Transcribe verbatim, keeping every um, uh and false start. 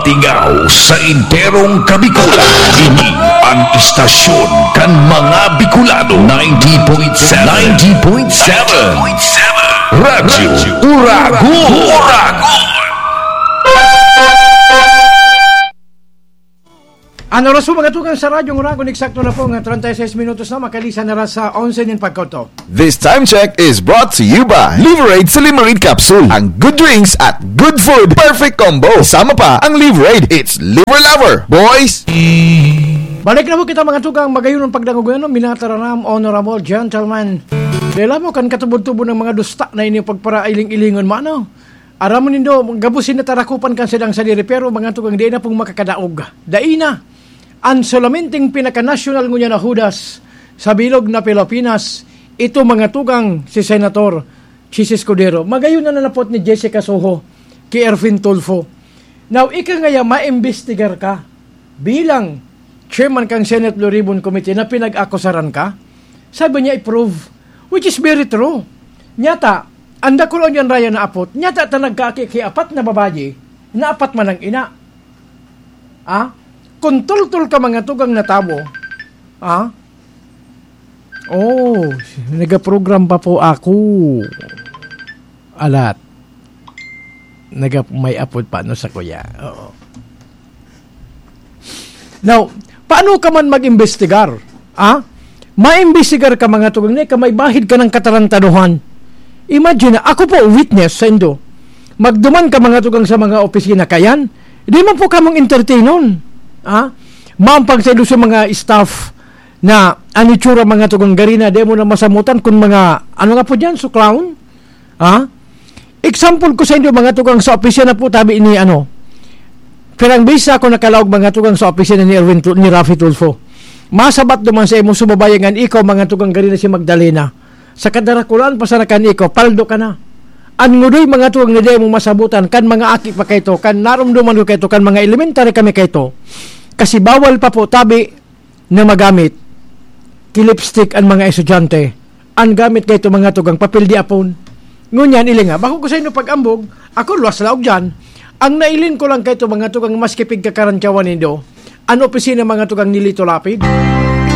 Ligaw sa enterong Kabikulan. Ini ang istasyon kan mga Bicolano. Ninety point seven. Ninety point seven. Radyo Uragon. Uragon. An oras po, mga tugang, sa Radyong Uragon, eksakto na po nga treinta y seis minutos na, makalisan na ra sa onse nin pagkauto. This time check is brought to you by Liverade Silimarin Capsule. Ang good drinks at good food, perfect combo. Kasama pa ang Liverade. It's Liver Lover, boys! Balik na po kita, mga tugang, magayon ang pagdangog, ano, minatararam, honorable gentlemen. Dela mo kan katubod-tubod ng mga dusta na ini pagparailing-ilingon mo, ano? Aram mo nindo, gabos na tarakupan kan sadang sadiri, pero mga tugang, dai na pong makakadaog. Dai na. An solamenteng pinakanasyonal ngunyan na hudas sa bilog na Pilipinas, ito mga tugang si Senator Chiz Escudero. Magayon na nanapot ni Jessica Soho ki Ervin Tulfo. Now, ika ngaya, maimbestigar ka bilang chairman kang Senate Blue Ribbon Committee na pinag-akusaran ka? Sabi niya, i-prove, which is very true. Nyata, ang dakul on yan raya na apot, nyata ta nagkaki ki apat na babayi, na apat man ang ina. Ah? Kung tultol ka mga tugang na tawo, ah? Oh, nagaprogram pa po ako. Alat. Naga, may apod pa, no, sa kuya. Oo. Now, paano ka man mag-imbestigar? Ah? Maimbestigar ka, mga tugang, na ika may bahid ka ng katarantaduhan. Imagine, ako po, witness sa indo. Magduman ka, mga tugang, sa mga opisina kayan, di man po kamong entertainon. Ah? Mampang sa indo sa mga staff na an itsura, mga tugang, garina, di mo na masamutan kung mga, ano nga po dyan, suklaon? Ha? Example ko sa inyo, mga tugang, sa opisina po tabi ni, ano, pirang beses ako nakalaog, mga tugang, sa opisina ni Erwin Tu-, ni Raffy Tulfo. Masabat duman sa imo, sumabayan ngan ikaw, mga tugang, gari na si Magdalena. Sa kadarakulaan pa sana kan ikaw, paldo ka na. An ngudoy, mga tugang, na di mo masabutan, kan mga aki pa kaito, kan narumduman ko kaito, kan mga elementary kami kaito. Kasi bawal pa po, tabi, na magamit ki lipstick an mga estudyante. An gamit kaito, mga tugang, papel di apon. Ngunyan, ili nga, bako ko sa inyo pag-ambog, ako luwas laog dyan. Ang nailin ko lang kaito, mga tugang, maski pigkakarantyawan nindo, an opisina, mga tugang, ni Lito Lapid.